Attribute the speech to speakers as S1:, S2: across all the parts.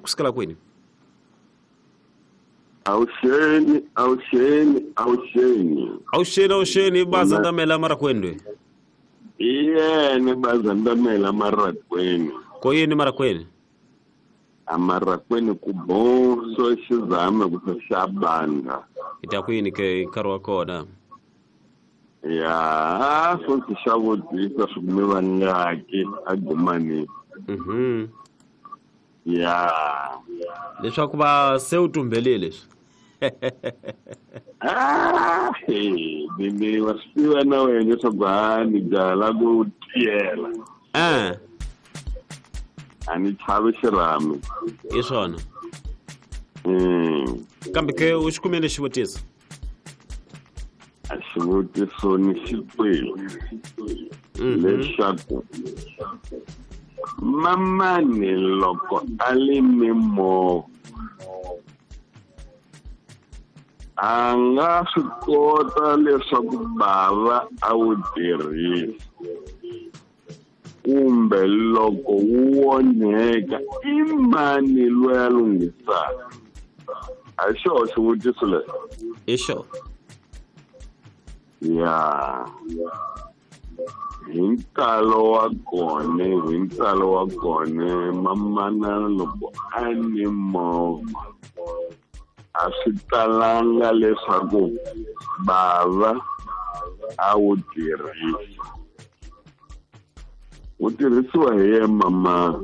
S1: kusukela kwini?
S2: Awuxeni, awuxeni, awuxeni.
S1: Awuxeni, awuxeni, bazandamela marakwendwe.
S2: Iyene bazandamela marakweni.
S1: Koyini marakweni?
S2: Amarakweni kubonso xizame kusaxabanga.
S1: Itakwini ke nkarhi wa kona.
S2: Ya, swo ndzi xa vutisa swi kume vangaki agumani. Ya.
S1: Leswaku va se u tumbelile leswi.
S2: Ah, ni wa swi tiva na wena leswaku ha ni byala ku tiyela. A ni chavi xirhami.
S1: Hi swona. Kambe ke u xi kumile xivutiso?
S2: A xivutiso ni xi twile. Leswaku mamani loko a lime movha a nga swi kota leswaku bava a wu tirhisa kumbe loko wu onheka i mani loyi a lunghisaka? A hi xoho xivutiso lexi?
S1: Hi xona.
S2: Ya. Hi ntalo wa kona, hi ntalo wa kona, mamana loko a ni movha a swi talanga leswaku bava a wu tirhisa. Wu tirhisiwa hi ye mama.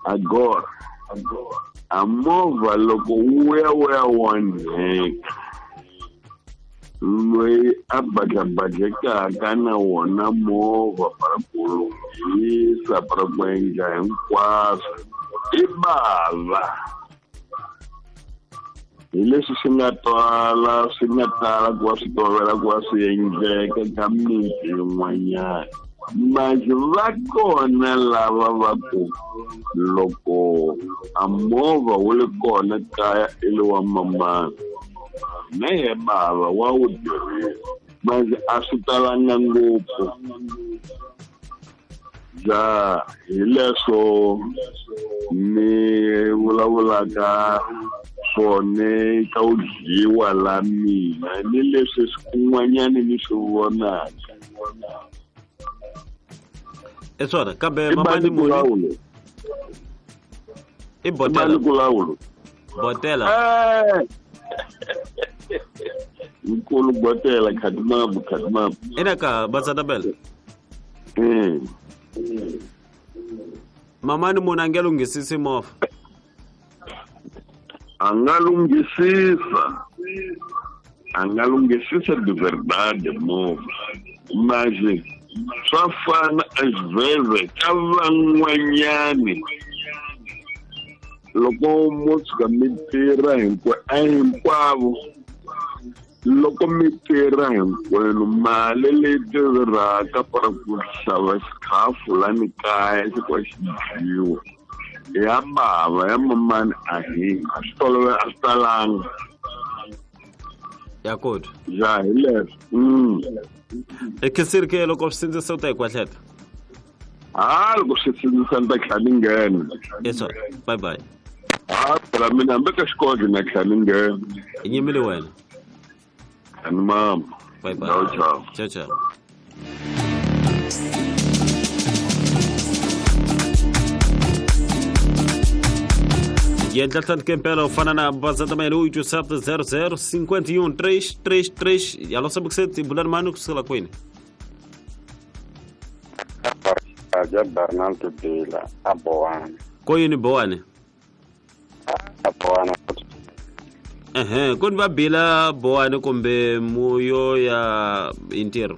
S2: Agora, a movha loko wu ya wu ya onheka, loyi a badlabadlekaka na wona movha para ku lunghisa, para ku endla hinkwaswo i bava. Hi leswi swi nga twala, swi nga tala ku va swi tolovela ku va swi endleka ka miti yin'wanyana. Manje va kona lava va ku loko a movha wu li kona kaya i le wa mamana, na ye bava wa wu tirhisa. Manje a swi talanga ngopfu. Ja hi leswo ni vulavulaka swona ka u dyiwa la mina ni leswi kun'wanyani ni swi vonaka.
S1: I swona, kambe mamani muni? I botela. Botela.
S2: Nkulu botela khatimabu khatimabu.
S1: Ina ka bazandamela. Mamani munhu a nge lunghisisi movha.
S2: A nga lunghisisa. A nga lunghisisa de verdade movha. Mas swa fana às vezes ka van'wanyani loko mo tshuka mi tirha hinkwavo, loko mi tirha hinkwenu mali leyi tirhaka para ku xava xikhafu lani kaya xi ku xi dyiwa ya bava ya mamani a hi a swi tolovela a swi talanga.
S1: Ya kota.
S2: Ja hi leswo.
S1: E khensile ke loko swi sindzisa u ta hi kwahleta?
S2: Ha loko swi sindzisa ni ta tlhela ni nghena.
S1: Yes sir. Bye bye.
S2: Ha phela mina hambi ka xikolo na tlhela ni nghena.
S1: I nyimile wena.
S2: Ani mama.
S1: Bye bye.
S2: Ciao ciao.
S1: Ciao ciao. Yendla tlhandlukempela u fana na bazandamela 8700 51 333 yalo sabukuseti bulani mani kusukela kwini?
S3: Aja Bernardo Bila a Bowane.
S1: Koyini Bowane?
S3: A Bowane.
S1: Kuni va Bila Bowane kumbe muyo ya intirho?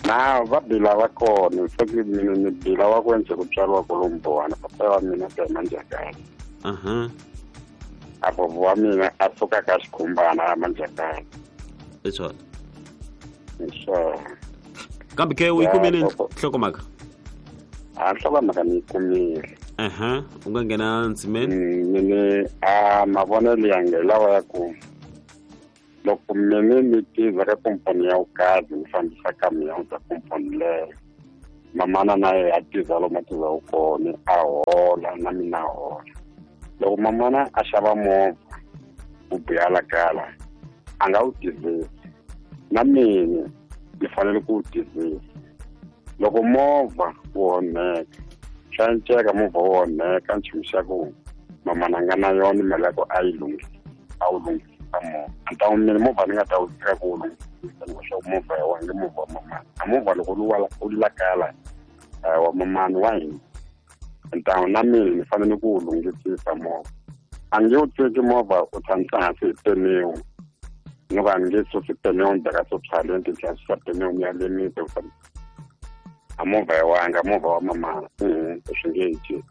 S3: Na va Bila va kona, se mina ni Bila wa ku endze ku tswariwa kolomu Bowane, papa wa mina ta Manjakani. A bobo wa mina a suka ka xikhumbana a Manjakani.
S1: I swona.
S3: Hi swona.
S1: Kambe ke u yi kumile nhlokomhaka?
S3: A nhlokomhaka ni yi kumile.
S1: U nga nghena ndzimeni?
S3: Mina a mavonelo ya nge lawa ya ku loko mina ni tirha ka komponi ya vukazi ni fambisa kamion ka komponi leyo, mamana na yena a tirha lomu a tirhaka kona a hola. hola na mina hola. Loko mamana a xava movha wu biha la kala a nga wu tivisi, na mina ni fanele ku wu tivisa. Loko movha wu onheka, swa enceka movha wu onheka nchumu xa ku mamana a nga na yona mali ya ku a yi lunghisa, a wu lunghisa movha. A ta mina movha ni nga ta wu teka ku wu lunghisa leswaku movha ya wena movha wa mamana. A movha loko wu la kala wa mamana wa hina, ntawu na mina ni fanele ku wu lunghisisa movha. A nge wu teki movha u tshamisa hansi hi peniwu, ni ku a ni nge susi peniwu ni beka swo ni tlhela susa peniwu ni ya lemisa ku a movha ya wanga, movha wa mamana swi nge ci.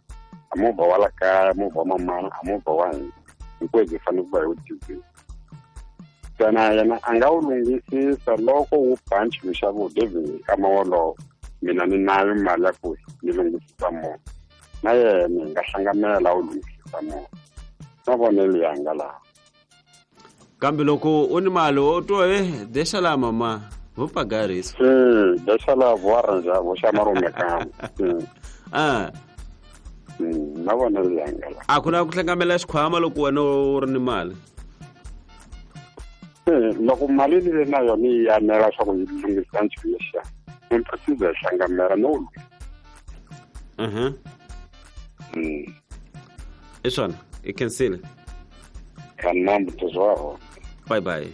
S3: A movha wa la kaya, movha wa mamana, a movha wa hina hinkwenu hi fanele ku va hi wu tivisa. Ntsena yena a nga wu lunghisisa loko wu ba nchumu xa ku David nkama wolowo mina ni nayo mali ya ku ni lunghisisa movha, na yena hi nga hlanganela wu lunghisisa movha. Mavonelo yanga laha.
S1: Kambe loko u ni mali u twa deixa lá mama, vou pagar isso.
S3: Sim, deixa lá, vou arranjar, vou chamar o mecânico. Sim.
S1: Ah.
S3: Mavonelo yanga laha.
S1: A ku na ku hlangamela xikhwama loko wena u ri ni mali?
S3: Loko mali leyi na yona yi anela swa ku yi lunghisa nchumu lexiya, ni precisa hi hlangamela no wu
S1: I swona, i khensile.
S3: Kanambu tozwaro.
S1: Bye bye.